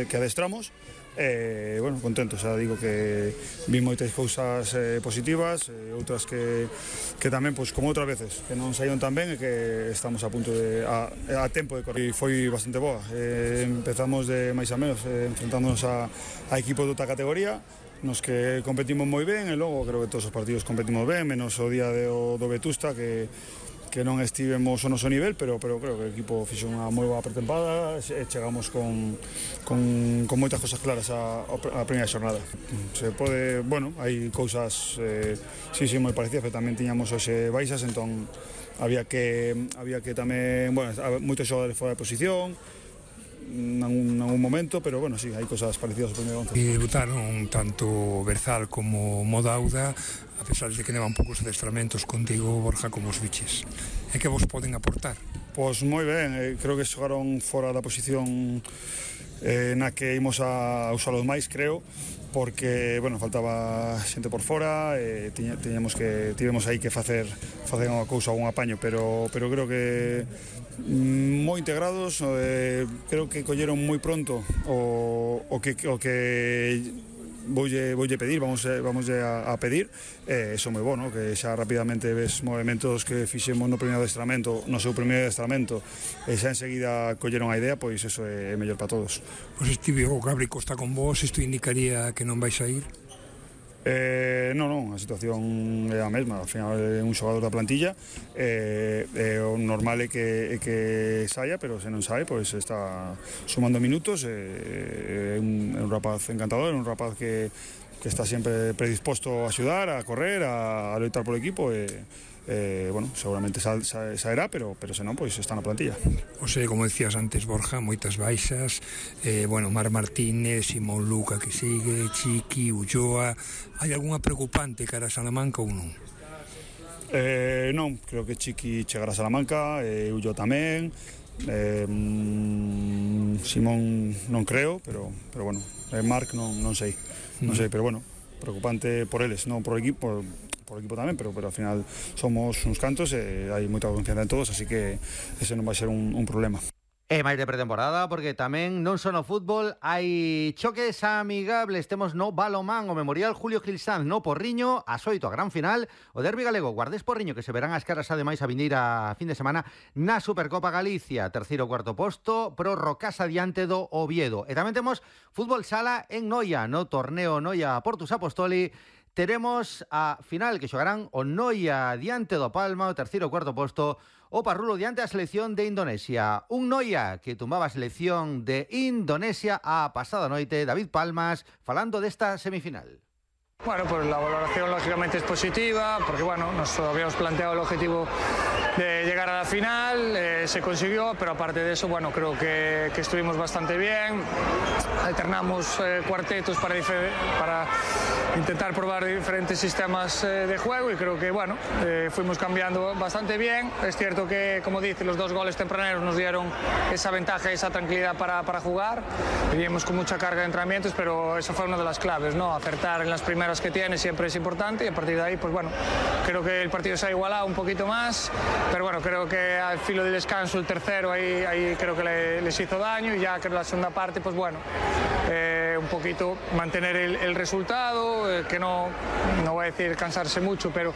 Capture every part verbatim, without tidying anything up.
que adestramos. Eh, bueno, contento, xa digo que vi moitas cousas eh, positivas, eh, outras que, que tamén, pois, como outras veces, que non saíron tan ben e que estamos a punto de, a, a tempo de correr. E foi bastante boa, eh, empezamos de máis a menos, eh, enfrentándonos a, a equipos de outra categoría, nos que competimos moi ben e logo creo que todos os partidos competimos ben, menos o día de, o, do Vetusta que que non estivemos ao noso nivel, pero, pero creo que o equipo fixo unha moi boa pretempada e chegamos con, con, con moitas cosas claras a, a primeira xornada. Se pode, bueno, hai cousas eh, sí, sí, moi parecidas, pero tamén tiñamos hoxe baixas, entón había que, había que tamén, bueno, moitos xogadores fora de posición, en algún momento, pero bueno, sí, hai cosas parecidas ao primeiro once. E debutaron tanto Berzal como Modauda, a pesar de que nevan poucos adestramentos contigo, Borja, como os biches. E que vos poden aportar? Pois moi ben, eh, creo que xogaron fora da posición eh, na que imos a usalos máis, creo, porque, bueno, faltaba xente por fora, eh, tiña, tiñamos que, tivemos aí que facer, facer unha cousa, un apaño, pero, pero creo que moi integrados, eh, creo que colleron moi pronto o, o que, o que voulle, voulle pedir, vamos, vamos a, a pedir, e eh, iso moi bueno, que xa rapidamente ves movimentos que fixemos no primeiro adestramento, no seu primeiro adestramento, e xa enseguida colleron a idea, pois iso é mellor para todos. Pois estive o Gabri Costa con vos, isto indicaría que non vais a ir? Eh, non, non, a situación é a mesma, ao final é un xogador da plantilla, eh, eh, o normal é que, é que saia, pero se non sai, pois está sumando minutos, eh, é, un, é un rapaz encantador, é un rapaz que, que está sempre predisposto a axudar, a correr, a, a loitar polo equipo, e eh, bueno, seguramente sa, sa, saerá, pero, pero se non, pois está na plantilla. O sea, como decías antes, Borja, moitas baixas, eh, bueno, Mar Martínez, Simón Luca que sigue, Chiqui, Ulloa. Hai algunha preocupante cara a Salamanca ou non? Eh, non, creo que Chiqui chegará a Salamanca, eh, Ulloa tamén, eh, Simón non creo, pero, pero bueno, eh, Marc non, non sei, non sei, pero bueno, preocupante por eles, non por o equipo, por o equipo tamén, pero, pero ao final somos uns cantos e hai moita confianza en todos, así que ese non vai ser un, un problema. E máis de pretemporada, porque tamén non só no fútbol hai choques amigables. Temos no balomán o Memorial Julio Gil Sanz no Porriño, as oito a gran final, o derbi galego Guardés Porriño, que se verán as caras ademais a vindeira fin de semana na Supercopa Galicia, terceiro ou cuarto posto pro Rocasa diante do Oviedo. E tamén temos fútbol sala en Noia, no torneo Noia Portus Apostoli. Teremos a final que xogarán o Noia diante do Palma, o terceiro ou cuarto posto, o Parrulo diante a selección de Indonesia. Un Noia que tumbaba a selección de Indonesia a pasada noite. David Palmas falando desta semifinal. Bueno, pues la valoración lógicamente es positiva, porque bueno, nos habíamos planteado el objetivo de llegar a la final, eh, se consiguió, pero aparte de eso, bueno, creo que, que estuvimos bastante bien, alternamos eh, cuartetos para, para intentar probar diferentes sistemas eh, de juego y creo que, bueno, eh, fuimos cambiando bastante bien. Es cierto que, como dice, los dos goles tempraneros nos dieron esa ventaja, esa tranquilidad para, para jugar, veníamos con mucha carga de entrenamientos, pero eso fue una de las claves, ¿no? Acertar en las primeras que tiene siempre es importante y a partir de ahí, pues bueno, creo que el partido se ha igualado un poquito más, pero bueno, creo que al filo de descanso el tercero ahí, ahí creo que le, les hizo daño y ya que en la segunda parte, pues bueno, eh, un poquito mantener el, el resultado, eh, que no, no voy a decir cansarse mucho, pero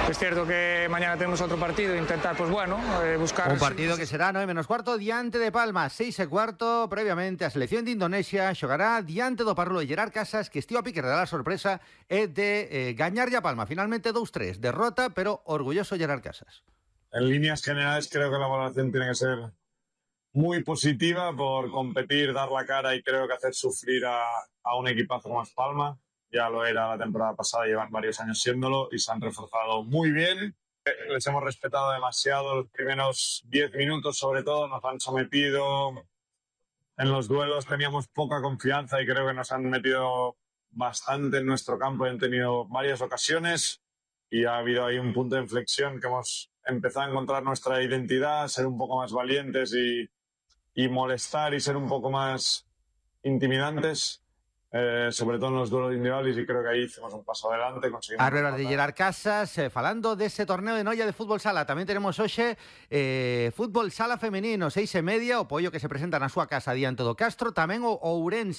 es cierto que mañana tenemos otro partido e intentar, pues bueno, eh, buscar... Un partido que será nueve menos cuarto diante de Palma, seis e cuarto, previamente a selección de Indonesia xogará diante do Parrulo e Gerard Casas, que estivo a pique de dar a sorpresa é de eh, gañar ya Palma, finalmente dos tres, derrota, pero orgulloso Gerard Casas. En líneas generales creo que la valoración tiene que ser muy positiva por competir, dar la cara y creo que hacer sufrir a, a un equipazo como es Palma. Ya lo era la temporada pasada, llevan varios años siéndolo y se han reforzado muy bien. Les hemos respetado demasiado los primeros diez minutos, sobre todo, nos han sometido. En los duelos teníamos poca confianza y creo que nos han metido bastante en nuestro campo, han tenido varias ocasiones y ha habido ahí un punto de inflexión que hemos empezado a encontrar nuestra identidad, ser un poco más valientes y, y molestar y ser un poco más intimidantes. eh, sobre todo en los duelos individuales, y creo que ahí hicimos un paso adelante. Arbebas de Gerard Casas, eh, falando dese torneo de Noia de fútbol sala. Tamén tenemos hoxe eh, fútbol sala femenino, seis e media, o Pollo que se presenta na súa casa diante do Castro, tamén o Ourense